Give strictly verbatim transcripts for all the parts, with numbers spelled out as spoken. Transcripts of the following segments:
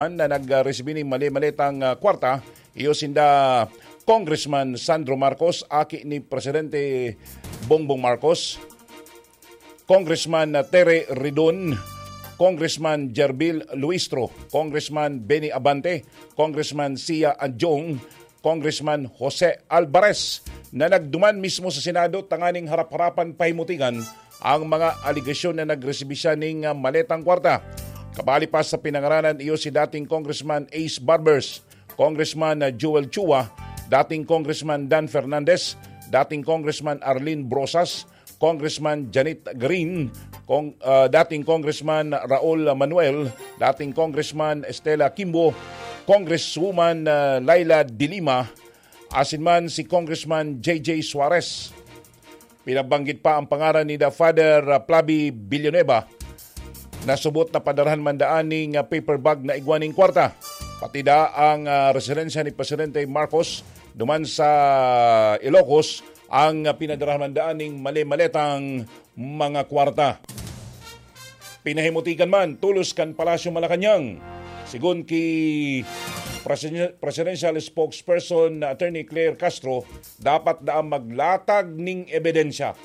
na nagresibi ning mali-maletang, ah, kwarta, iyo sinda Congressman Sandro Marcos, aki ni Presidente Bongbong Marcos, Congressman Tere Ridon, Congressman Jerbil Luistro, Congressman Benny Abante, Congressman Sia Adjong, Congressman Jose Alvarez, na nagduman mismo sa Senado tanganing harap-harapan pahimutigan ang mga alegasyon na nagresibi siya ning, ah, maletang kwarta. Kabali pa sa pinangaranan, iyo si dating Congressman Ace Barbers, Congressman, ah, Joel Chua, dating Congressman Dan Fernandez, dating Congressman Arlene Brosas, Congressman Janet Green, Cong-, ah, dating Congressman Raul Manuel, dating Congressman Estela Kimbo, Congresswoman, ah, Laila de Lima, asin man si Congressman J J Suarez. Pinabanggit pa ang pangaran ni The Father, ah, Plabi Villanueva, na subot na padarahan man daan ning, ah, paper bag na igwa ning kwarta. Pati da ang, ah, residensya ni Presidente Marcos duman sa Ilocos ang, ah, pinadarahan man daan ning mali-maletang mga kwarta. Pinahimutikan man tolos kan Palasyo Malacañang. Sigon ki Presiden-, Presidential Spokesperson na Attorney Claire Castro, dapat daang maglatag ning ebidensya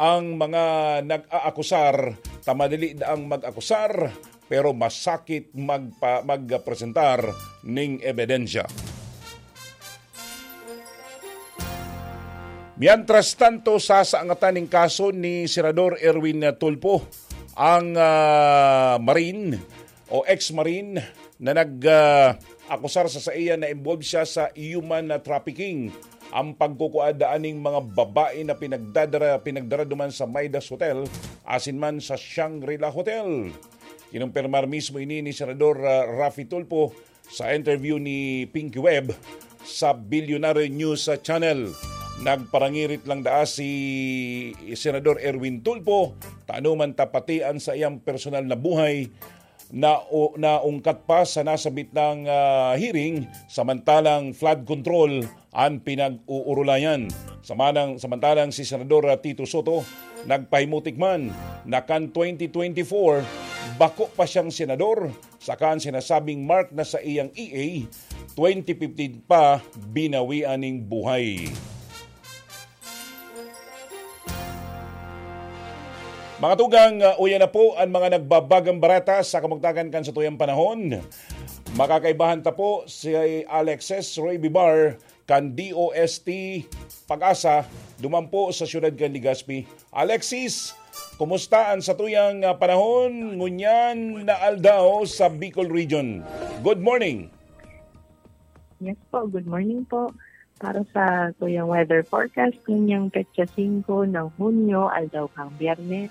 ang mga nag-aakusar, ta madali daang mag-akusar, pero masakit magpa-, magpresentar ning ebidensya. Mientras tanto, sasangatan ning kaso ni Senador Erwin Tulfo, ang, ah, Marine o ex-Marine na nag, ah, akusar sa saiya na involved siya sa human, ah, trafficking. Ang pagkukuha daan ning mga babae na pinagdadara-, pinagdara duman sa Midas Hotel, asin man sa Shangri-La Hotel. Kinumpirmar mismo ini ni Senador, ah, Raffy Tulfo sa interview ni Pinky Webb sa Bilyonaryo News Channel. Nagparangirit lang daa si Senador Erwin Tulfo, ta ano man ta pati an saiyang personal na buhay na o, naungkat pa sa nasabit nang, ah, hearing, samantalang flood control an pinag-uurulayan. Samanang, samantalang si Senador, ah, Tito Soto nagpahimutik man na kan twenty twenty-four, bako pa siyang senador, saka an sinasabing mark na saiyang E A, twenty fifteen pa binawian ning buhay. Mga tugang, uh, uya na po an mga nagbabagang bareta sa kamugtakan kan satuyang panahon. Makakaibahan ta po si Alexis Roy Bibar kan D O S T Pag-asa, duman po sa siyudad kan Legazpi. Alexis, kumusta an satuyang, uh, panahon ngunyan na aldaw sa Bicol Region? Good morning. Yes po, good morning po. Para sa tuyang weather forecast, ninyang petsa singko ng Hunyo, aldaw kang Biyernes,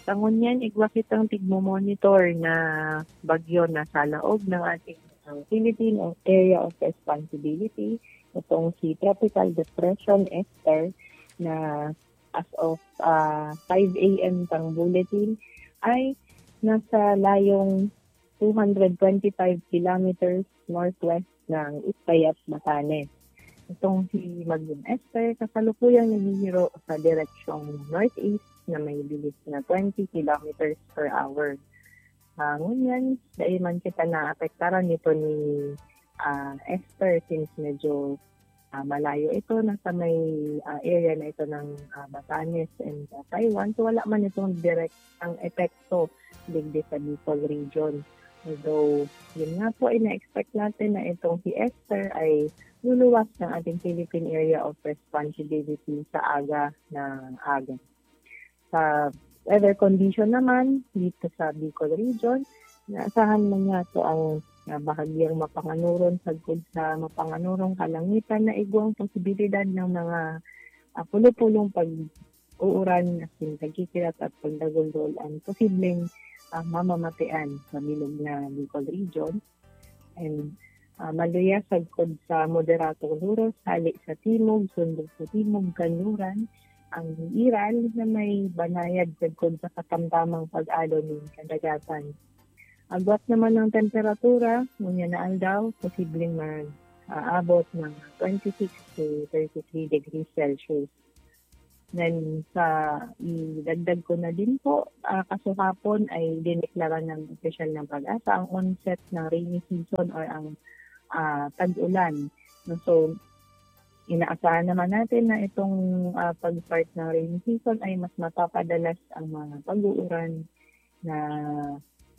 sa ngunyan, igwa kitang tigmo-monitor na bagyo na sa laog ng ating, uh, Philippine Area of Responsibility, itong si Tropical Depression Esther, na as of, uh, five a.m. pang bulletin ay nasa layong two hundred twenty-five kilometers northwest ng Itbayat, Batanes. Itong si Magnum Esther, kasalukuyang naghihiro sa direksyong northeast na may bilis na twenty kilometers per hour. Ah, ngunyan, dai man kita naapektaran nito ni, ah, Esther, since medyo, ah, malayo ito, nasa may, ah, area na ito ng, ah, Batanes and, ah, Taiwan. So, wala man itong direktang epekto digdi sa Bicol region. Although, yun nga po, ina-expect natin na itong si Esther ay luluwas ng ating Philippine Area of Responsibility sa aga na aga. Sa weather condition naman, dito sa Bicol region, inaasahan man niya ito ang, ah, bahagyang mapanganuron sagkod sa mapanganurong kalangitan na igwang posibilidad ng mga, ah, pulo-pulong pag-uuran, as in, tagkikilat at pagdaguldol ang posibleng, ah, mamamatean sa bilog na Bicol region. And, ah, maluya sagkod sa moderatong luros, hali sa timog, sundok sa timog, kanluran, ang iral na may banayad sagkod sa katamtamang pag-alo nin kadagatan. Agwat naman ng temperatura, ngunyan na aldaw, posibleng mag-aabot ng twenty-six to thirty-three degrees Celsius. Then sa idagdag ko na din po, ah, kasuhapon ay dineklara ng opisyal ng PAGASA ang onset ng rainy season or ang, ah, tag-ulan, 'no. So, inaasahan naman natin na itong, ah, pag-start ng rainy season ay mas mapapadalas ang mga pag-uuran na,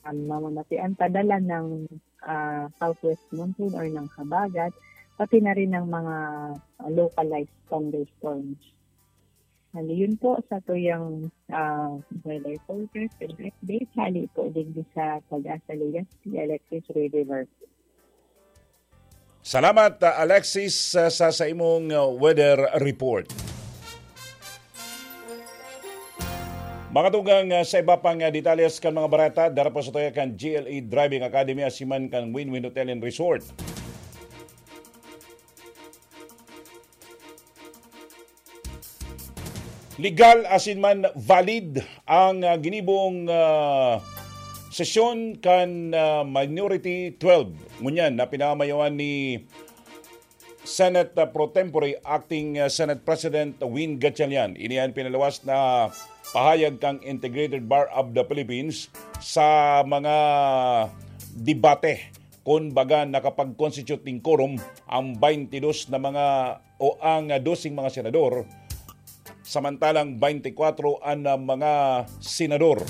um, mamamatian padala ng, ah, southwest monsoon or ng habagat, pati na rin ng mga, ah, localized thunderstorms. Hali yun po sa tuyang, ah, weather forecast and update. Hali po din sa PAGASA Legazpi, Alexis River. Salamat, ah, Alexis, sa, sa, sa imong, ah, weather report. Mga tugang, ah, sa iba pang, ah, detalles kan mga bareta, dara po sa tuya kan G L E Driving Academy, asiman kan Win-Win Hotel and Resort. Legal asin man valid ang, ah, ginibong, ah, sesyon kan, ah, Minority twelve. Ngunyan na pinamayawan ni Senate, ah, pro tempore, Acting, ah, Senate President Win Gatchalian. Ini an pinaluwas na pahayag kan Integrated Bar of the Philippines sa mga debate. Kun baga, nakapag-constitute nin quorum ang twenty-dos na mga o ang doseng mga senador, samantalang twenty-kwatro an, ah, mga senador.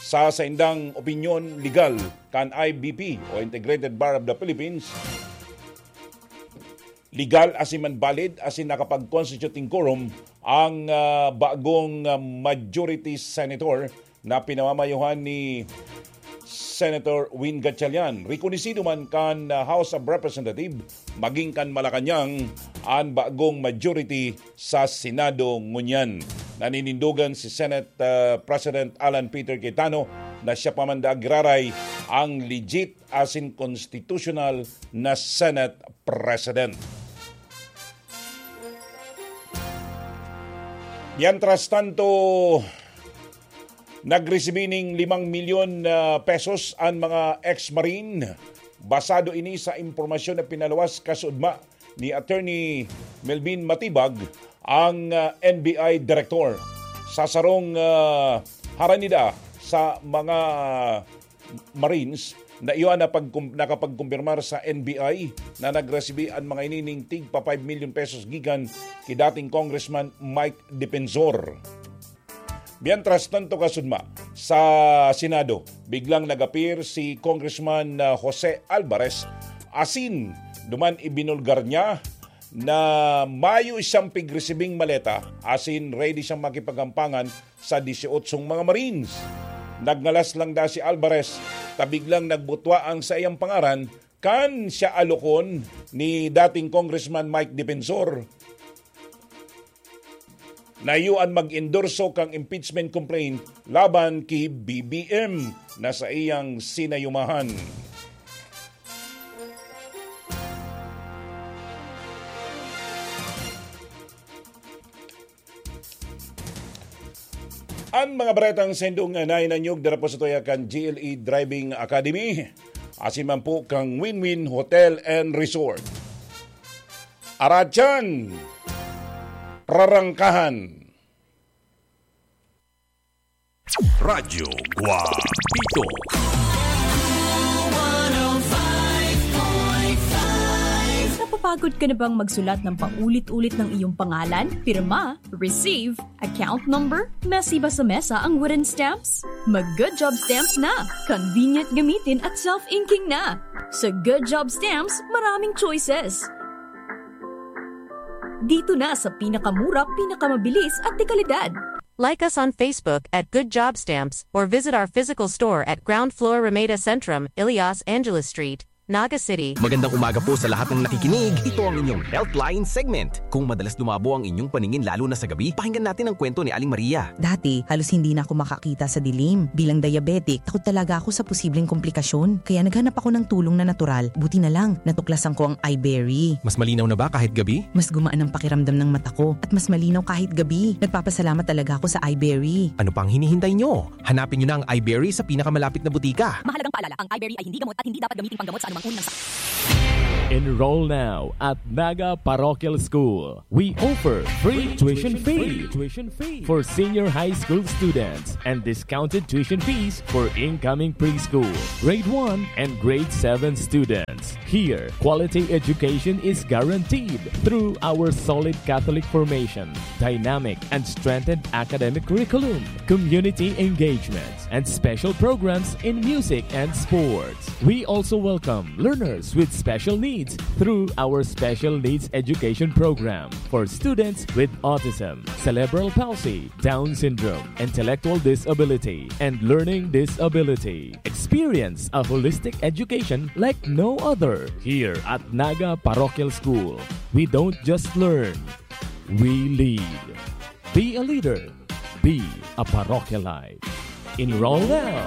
Sa saindang opinyon legal kan I B P o Integrated Bar of the Philippines, legal asin man valid asin nakapag-constitute nin quorum ang, ah, bagong, ah, majority senator na pinamamayohan ni Senator Win Gatchalian. Rekonosido man kan, ah, House of Representatives, maging kan Malacañang an bagong majority sa Senado ngunyan. Naninindogan si Senate, ah, President Alan Peter Cayetano na siya pa man daa giraray ang legit asin constitutional na Senate President. Mientras tanto, nagresibi ning limang milyon, ah, pesos an mga ex-Marine. Basado ini sa impormasyon na pinaluwas kasuodma ni Attorney Melvin Matibag, ang, ah, N B I Director. Sa sarong, ah, harani daa sa mga Marines na iyo an napagkum-, nakapagkumpirmar sa N B I na nagresibi an mga ini ning tigpa five milyon pesos gikan ki dating Congressman Mike Defensor. Mientras tanto, kasuodma, sa Senado, biglang nag-appear si Congressman, ah, Jose Alvarez asin duman ibinulgar niya na mayo siyang pigresibing maleta asin ready siyang makipaghampangan sa disyootsong mga Marines. Nagngalas lang daa si Alvarez ta biglang nagbutwa ang saiyang pangaran kan siya alokon ni dating Congressman Mike Defensor na iyo an mag-endorso kan impeachment complaint laban ki B B M na saiyang sinayumahan. An mga baretang saindong nahinanyog dara po sa tuya kan G L E Driving Academy, asin man po kan Win-Win Hotel and Resort. Aratyan! Prarangkahan! Radyo Guapito. Napapagod ka na bang magsulat ng paulit-ulit ng iyong pangalan, pirma, receive, account number, mesi ba sa mesa ang wooden stamps? Mag Good Job Stamps na! Convenient gamitin at self-inking na! Sa Good Job Stamps, maraming choices! Dito na sa pinakamura, pinakamabilis at dekalidad. Like us on Facebook at Good Job Stamps or visit our physical store at ground floor Ramada Centrum, Ilias Angeles Street, Naga City. Magandang umaga po sa lahat ng nakikinig. Ito ang inyong Healthline segment. Kung madalas lumabo ang inyong paningin lalo na sa gabi, pakinggan natin ang kwento ni Aling Maria. Dati, halos hindi na ako makakita sa dilim. Bilang diabetic, takot talaga ako sa posibleng komplikasyon. Kaya naghanap ako ng tulong na natural. Buti na lang, natuklasan ko ang iBerry. Mas malinaw na ba kahit gabi? Mas gumaan ang pakiramdam ng mata ko at mas malinaw kahit gabi. Nagpapasalamat talaga ako sa iBerry. Ano pang hinihintay nyo? Hanapin nyo na ang iBerry sa pinakamalapit na butika. Mahalagang paalala, ang iBerry ay hindi gamot at hindi dapat gamiting panggamot sa anumang uri ng sakit. Enroll now at Naga Parochial School. We offer free tuition fee for senior high school students and discounted tuition fees for incoming preschool, grade one, and grade seven students. Here, quality education is guaranteed through our solid Catholic formation, dynamic and strengthened academic curriculum, community engagement, and special programs in music and sports. We also welcome learners with special needs through our Special Needs Education Program for students with autism, cerebral palsy, Down syndrome, intellectual disability, and learning disability. Experience a holistic education like no other. Here at Naga Parochial School, we don't just learn, we lead. Be a leader. Be a parochialite. Enroll now.